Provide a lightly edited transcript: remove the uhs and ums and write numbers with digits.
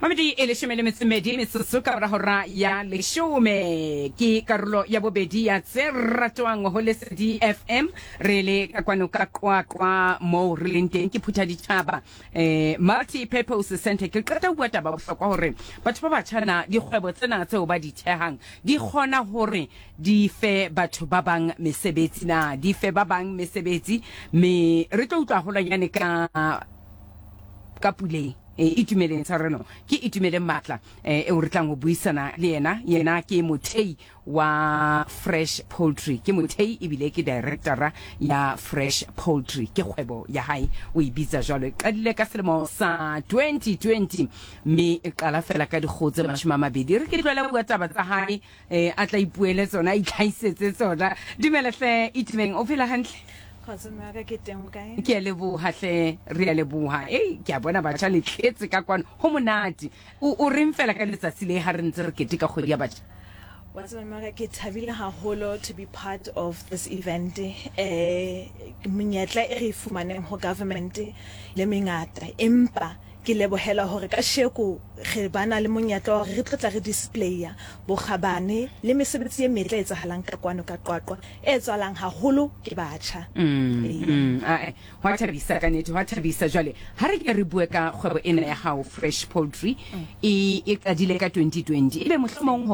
Mamedi e leshome le metso medi metsotso ka mora hora ya leshome ke karolo ya bobedi ya tse ratwang ho Lesedi FM. Re le ka kwano ka Qwaqwa moo re leng teng ke phutha ditjhaba eh multi purpose center. Ke qeta ho bua taba bohlokwa hore batho ba batjha na dikgwebo tsena tseo ba di thehang di kgona hore di fe batho ba bang mesebetsi na di fe ba bang mesebetsi, me re tlo utlwa holwanyane ka ka Puleng. E, Itumeleng tshwarelo, ke Itumeleng Matla e, eo re tlang ho buisana le yena. Yena ke mothei wa Fresh Poultry, ke mothei ebile ke directora ya Fresh Poultry, ke kgwebo ya hae o e bitsa jwalo. E qadile ka selemo sa 2020 mme e qala fela ka dikgoho tse 20. Re ke tlohele bua taba tsa hae, e, a tla ipuele tsona, a itlhahisetse tsona. Dumela hle Itumeleng, o phela hantle? Kgotso mme wa ka, ke teng, o kae? Ke a leboha hle, re a leboha. Ei, ke a bona batjha le tletse ka kwano, ho monate. O, o reng fela ka letsatsi le ha re ntse re keteka kgwedi ya batjha? Wa tseba mme wa ka, ke thabile haholo to be part of this event. Eh, menyetla e re e fumaneng ho government le mengata, empa ke lebohela hore kasheko re ba na le monyetla wa hore re tlo tla re displaya bokgabane le mesebetsi e metle e etsahalang ka kwano ka Qwaqwa, e tswalang haholo ke batjha. Mm, ae, hwa thabisa ka nete, hwa thabisa. Jwale ha re ke re bue ka kgwebo ena ya hao, Fresh Poultry, e, e qadile ka 2020. Ebe mohlomong ho